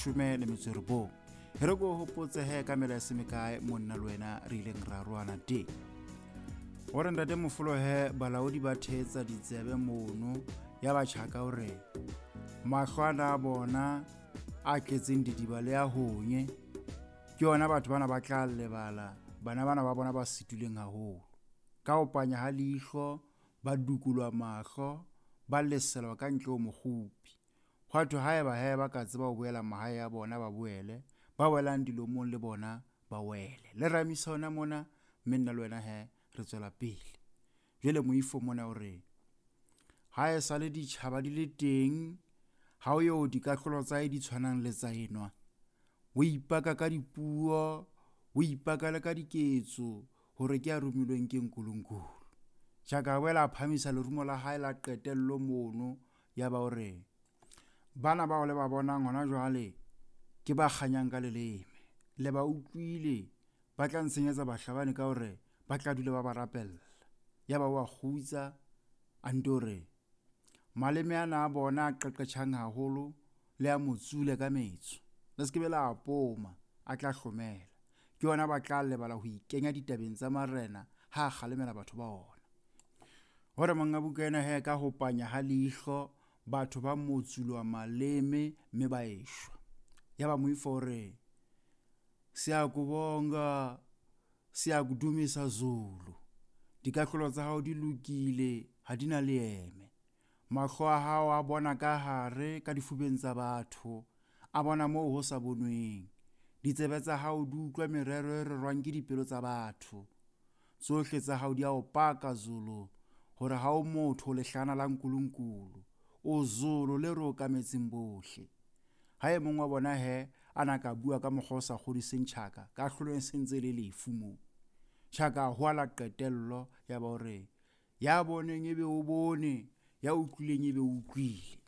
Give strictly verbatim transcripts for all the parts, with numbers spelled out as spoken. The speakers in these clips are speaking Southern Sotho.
Leshome le metso e robong. E re ko hopotse he ka mela e se mekae monna le wena re ileng ra roana teng. Hore ntate Mofolo he balaodi ba thetsa ditsebe mono ya ba Tjhaka hore mahlo ana a bona a tletseng didiba le a honye ke yona batho bana ba tla lebala bana bana ba bona ba sitilweng haholo. Ka ho panya ha leihlo ba dukulwa mahlo ba leselwa ka ntle ho mokgupi. Hwa thwe haeba he ba ka tseba ho boela mahae a bona ba boele, ba welang dilomong le bona ba wele. Le ramisa hona mona mme nna le wena he re tswela pele. Jwale moifo mona o re ha e sale ditjhaba di le teng ha o yo dikahlolo tsa hae di tshwanang le tsa enwa. O ipaka ka dipuo, o ipaka le ka diketso hore ke a romilweng ke Nkulunkulu. Tjhaka a boela a phahamisa lerumo la hae la qetello mono ya ba hore bana bao le ba bonang hona jwale ke ba kganyang ka leleme. Le ba utlwile ba tla ntshenyetsa bahlabani ka hore ba tla dula ba ba rapella. Ya ba wa kgutsa a nto re maleme ana a bona a qeqetjhang haholo le a motsule ka metso. Le se ke be la poma a tla hlomela. Ke yona ba tla lebala ho ikenya ditabeng tsa marena ha a kgalemela batho ba ona. Hore monga buka ena he ka ho panya ha leihlo batho ba motsulwa maleme mme ba eshwa. Ya ba moifo hore siyakubonga siyakudumisa Zulu. Dikahlolo tsa hao di lokile ha di na leeme. Mahlo a hao a bona ka hare ka difubeng tsa batho, a bona moo ho sa bonweng. Ditsebe tsa hao di utlwa merero e rerwang ke dipelo tsa batho. Tsohle tsa hao di a o paka Zulu hore ha o motho lehlana la Nkulunkulu. O Zulu le re okametseng bohle. Ha e mong wa bona he a na ka bua ka mokgwa o sa kgodiseng Tjhaka, kahlolo e sentse le lefu moo. Tjhaka a hoala qetello ya ba hore ya boneng ebe o bone, ya utlwileng ebe o utlwile.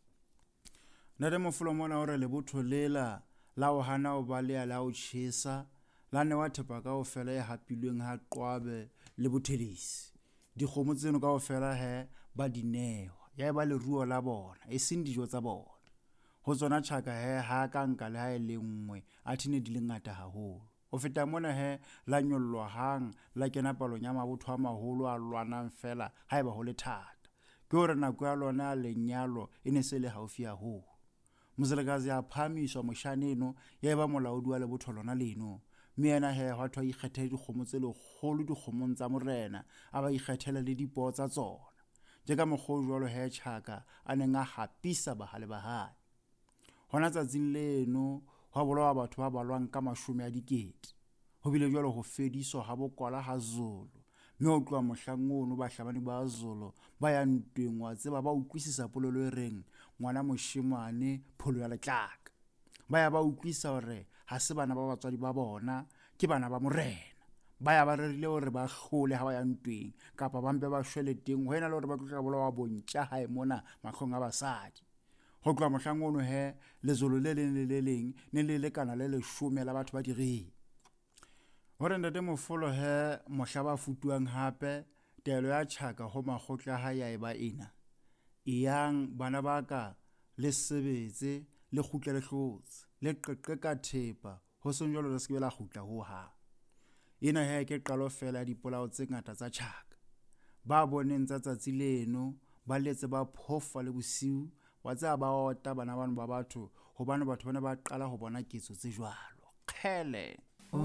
Ntate Mofolo mona hore lebotho lela la ho hana ho baleha la ho tjhesa la newa thepa kaofela e hapilweng ha Qwabe le Bothelesi. Dikgomo tseno kaofela he ba di newa, ya eba leruo la bona e seng dijo tsa bona. Ho tsona Tjhaka he ha ka nka le ha e le nngwe athe ne di le ngata haholo. Ho feta mona he la nyollwa hang la kena palong ya mabotho a maholo a lwanang fela haeba ho le thata. Ke hore nako ya lona ya lenyalo e ne se le haufi haholo. Moselekazi a phahamiswa moshaneno ya eba molaodi wa lebotho lona leno. Mme yena he hwa thwe a ikgethele dikgomo tse lekgolo dikgomong tsa morena, a ba ikgethele le dipoo tsa tsona. Tje ka mokgwa o jwalo he Tjhaka a neng a hapisa bahale ba hae. Hona tsatsing leno hwa bolawa batho ba balwang ka mashome a dikete. Ho bile jwalo ho fediswa ha bokwala ha Zulu. Mme ho tloha mohlang ono bahlabani ba Zulu ba ya ntweng wa tseba ba utlwisisa polelo e reng ngwana moshemane pholo ya letlaka. Ba ya ba utlwisa hore ha se bana ba batswadi ba bona, ke bana ba morena. Ba ya ba rerile hore ba hlole ha ba ya ntweng kapa ba mpe ba shwele teng ho ena le hore ba tlo bolawa bontja hae mona mahlong a basadi. Ho tloha mohlang ono he lezolo le leng le le leng ne le lekana le leshome la batho ba direng. Hore ntate Mofolo he mohla ba futuang hape taelo ya Tjhaka ho makgotla ha ya eba ena. Eyang bana ba ka le sebetse le kgutle le hlotse le qeqe ka thepa ho seng jwalo le se ke la kgutla ho hang. Ena he ke qalo fela ya dipolao tse ngata tsa Tjhaka. Ba boneng tsa tsatsi leno ba letse ba phofa le bosiu wa tseba ba ota bana bano ba batho hobane batho bana ba qala ho bona ketso tse jwalo. Kgele. O